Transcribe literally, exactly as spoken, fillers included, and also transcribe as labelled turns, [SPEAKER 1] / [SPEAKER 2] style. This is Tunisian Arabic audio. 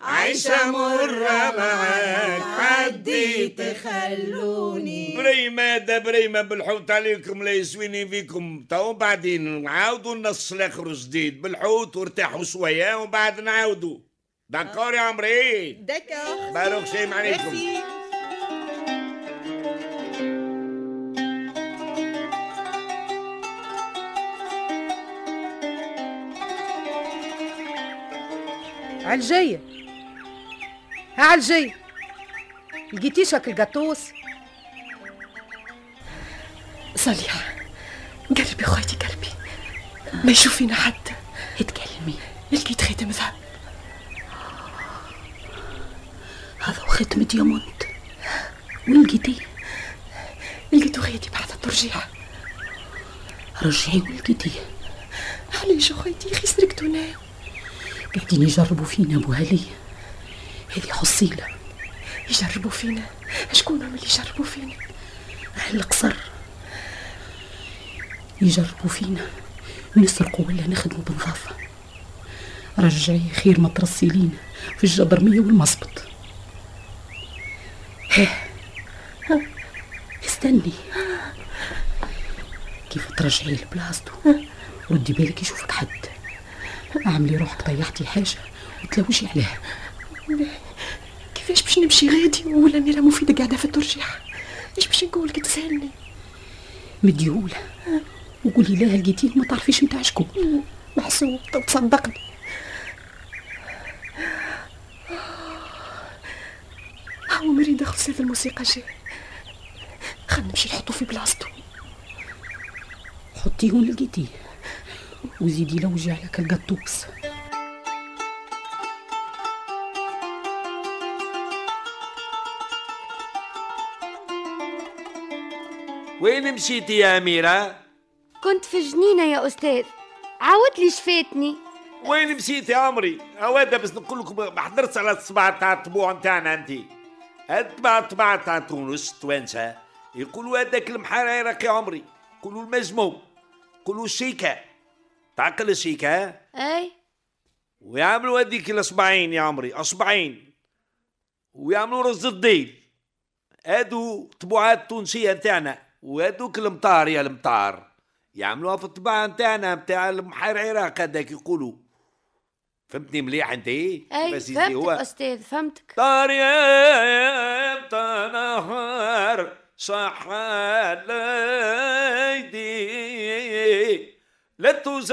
[SPEAKER 1] عايشة مرة معاك عديت
[SPEAKER 2] خلوني
[SPEAKER 1] بريمة دا بريمة بالحوت عليكم لا يسويني فيكم. تو بعدين نعاودوا النص الاخر جديد بالحوت وارتاحوا شوية ومن بعد نعاودوا. d'accord يا عمري؟
[SPEAKER 2] d'accord.
[SPEAKER 1] بارك شيء عليكم.
[SPEAKER 3] عالجية ها عالجية، لقيتيش هاك القطوس؟
[SPEAKER 4] صليحة قربي خويتي قربي، ما يشوفينا حد.
[SPEAKER 5] اتكلمي.
[SPEAKER 4] لقيت خاتم ذهب.
[SPEAKER 5] هذا ختم diamant. وين لقيتيه؟
[SPEAKER 4] لقيته خيتي بعد الترجيح.
[SPEAKER 5] رجعي ولقيتيه.
[SPEAKER 4] علاش خويتي اخي سرقتونا؟
[SPEAKER 5] قاعدين يجربوا فينا ابو هلي، هذه حصيله.
[SPEAKER 4] يجربوا فينا؟ شكون هم اللي يجربوا فينا؟
[SPEAKER 5] أهل القصر يجربوا فينا، نسرقوا ولا نخدموا بنظافه. رجعي خير ما ترصي لينا في الجدرميه والمصبط. ها استني كيف ترجعي لبلاصتو، ردي بالك يشوفك حد. اعملي روحك طيحتي حاجة وتلوجي عليها.
[SPEAKER 4] كيفاش باش نمشي غادي ولا ميرا مفيدة قاعدة في الترجيح؟ ايش باش نقول كي تسالني؟
[SPEAKER 5] مديهولها وقولي لها لقيتيه وما تعرفيش نتاع شكون.
[SPEAKER 4] محسوب تصدقني. هو مريض دخل سيف الموسيقى جاي، خلينا نمشي نحطو في بلاصتو.
[SPEAKER 5] حطيه ولقيتيه وزيدي لوجي على كالقطوس.
[SPEAKER 1] وين مشيتي يا أميرة؟
[SPEAKER 6] كنت في جنينة يا أستاذ، عاود لي شفاتني.
[SPEAKER 1] وين مشيتي يا عمري؟ هوادا بس نقول لكم ما حضرتش على الصباع تاع الطبوع نتاعنا انت. الطباع الطباع تاع تونس التوانسة يقولوا هذاك المحريرق يا عمري، يقولوا المجموم، يقولوا الشيكة. تعقل الشيكة؟
[SPEAKER 6] اي.
[SPEAKER 1] ويعملوا هذيك الاصبعين يا عمري، اصبعين، ويعملوا رز الديل. هادو طبوعات تونسية نتاعنا. وهذوك المطار يا المطار يعملوها في الطباعة نتاعنا نتاع المحريرق هذاك يقولوا. فهمتني مليح انت؟
[SPEAKER 6] اي فهمتك هو. استاذ فهمتك.
[SPEAKER 1] طار يا نهار صح ليدي لا تزال